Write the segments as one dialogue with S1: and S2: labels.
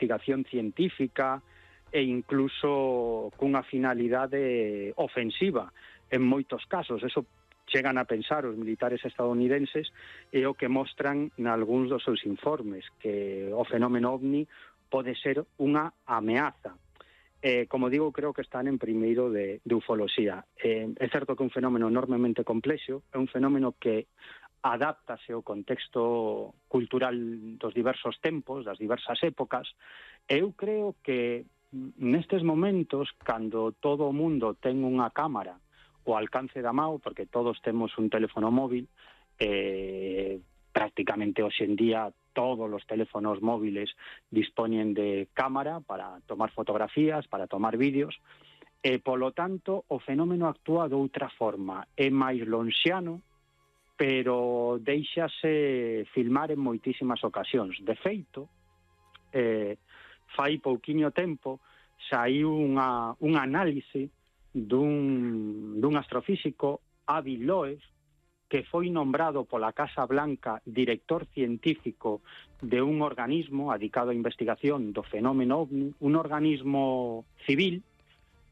S1: investigación científica e incluso cunha finalidade ofensiva en moitos casos. Eso chegan a pensar os militares estadounidenses e o que mostran nalgúns dos seus informes, que o fenómeno ovni pode ser unha ameaza. Como digo, creo que están en primeiro de ufoloxía. É certo que é un fenómeno enormemente complexo, é un fenómeno que adáptase ao contexto cultural dos diversos tempos, das diversas épocas. Eu creo que nestes momentos, cando todo o mundo ten unha cámara ao alcance da mão, porque todos temos un teléfono móvil, prácticamente hoxe en día todos os teléfonos móviles dispoñen de cámara para tomar fotografías, para tomar vídeos, e, polo tanto, o fenómeno actúa de outra forma. É máis lonxiano, pero deixase filmar en moitísimas ocasións. De feito, fai pouquiño tempo saiu un análise dun astrofísico, Avi Loeb, que foi nombrado pola Casa Blanca director científico de un organismo dedicado á investigación do fenómeno ovni, un organismo civil,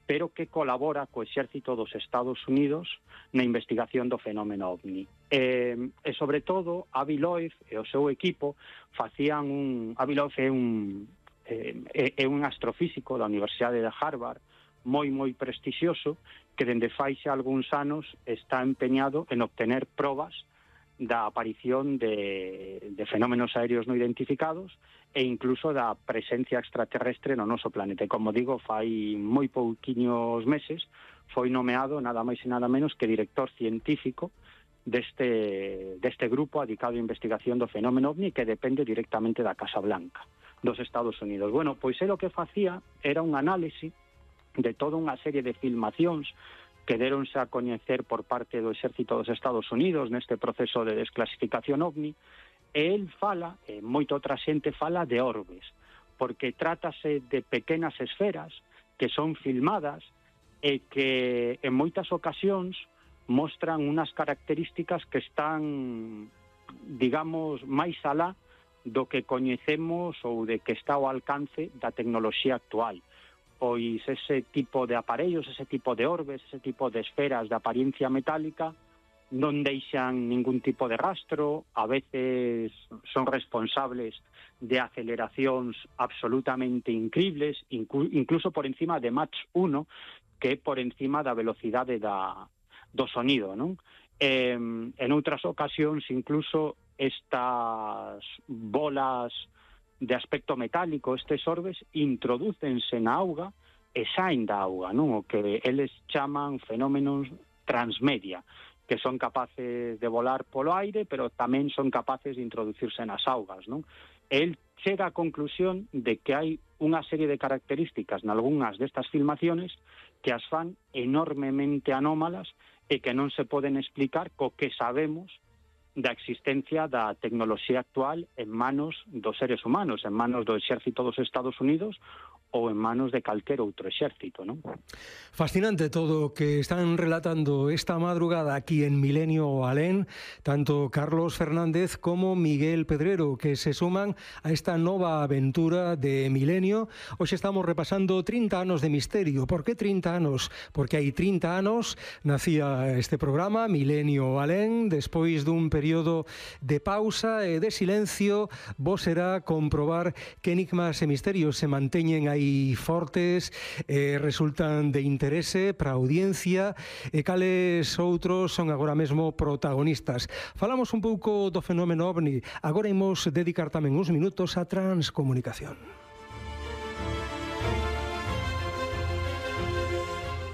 S1: pero que colabora co exército dos Estados Unidos na investigación do fenómeno ovni. E sobre todo, Avi Loeb e o seu equipo facían Avi Loeb é un astrofísico da Universidade de Harvard, moi prestixioso, que dende fai xa algúns anos está empeñado en obtener probas da aparición de fenómenos aéreos non identificados e incluso da presencia extraterrestre no noso planeta. E, como digo, fai moi pouquiños meses foi nomeado nada máis e nada menos que director científico deste grupo dedicado á investigación do fenómeno ovni, que depende directamente da Casa Blanca dos Estados Unidos. Bueno, pois é o que facía era un análise de toda unha serie de filmacións que deronse a coñecer por parte do exército dos Estados Unidos neste proceso de desclasificación ovni, e el fala, e moita outra xente fala, de orbes, porque trátase de pequenas esferas que son filmadas e que en moitas ocasións mostran unas características que están, digamos, máis alá do que coñecemos ou de que está ao alcance da tecnoloxía actual. Pois ese tipo de aparellos, ese tipo de orbes, ese tipo de esferas de apariencia metálica non deixan ningún tipo de rastro, a veces son responsables de aceleracións absolutamente incribles, incluso por encima de Mach 1, que é por encima da velocidade do sonido, non? En outras ocasións, incluso, estas bolas de aspecto metálico, estes orbes, introdúcense na auga e saen da auga, non? O que eles chaman fenómenos transmedia, que son capaces de volar polo aire, pero tamén son capaces de introducirse nas augas, non? El chega á conclusión de que hai unha serie de características nalgúnas destas filmaciones que as fan enormemente anómalas e que non se poden explicar co que sabemos da existencia da tecnoloxía actual en manos dos seres humanos, en manos do exército dos Estados Unidos ou en manos de calquer outro exército, non?
S2: Fascinante todo o que están relatando esta madrugada aquí en Milenio Alén, tanto Carlos Fernández como Miguel Pedrero, que se suman a esta nova aventura de Milenio. Hoxe estamos repasando 30 anos de misterio. Por que 30 anos? Porque hai 30 anos nacía este programa, Milenio Alén, despois dun período de pausa e de silencio. Vos será comprobar que enigmas e misterios se manteñen aí fortes, resultan de interese para a audiencia, e cales outros son agora mesmo protagonistas. Falamos un pouco do fenómeno ovni, agora imos dedicar tamén uns minutos á transcomunicación.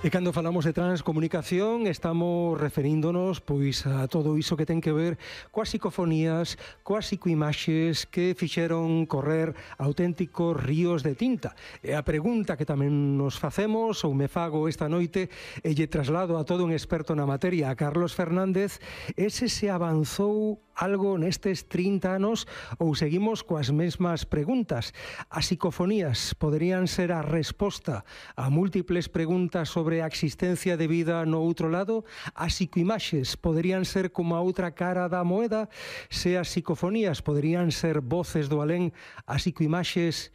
S2: E cando falamos de transcomunicación estamos referíndonos pois a todo iso que ten que ver coas psicofonías, coas psicoimaxes que fixeron correr auténticos ríos de tinta. E a pregunta que tamén nos facemos, ou me fago esta noite, e lle traslado a todo un experto na materia, a Carlos Fernández, é se avanzou algo nestes 30 anos ou seguimos coas mesmas preguntas. As psicofonías poderían ser a resposta a múltiples preguntas sobre a existencia de vida no outro lado? As psicoimaxes poderían ser como a outra cara da moeda? Se as psicofonías poderían ser voces do alén, as psicoimaxes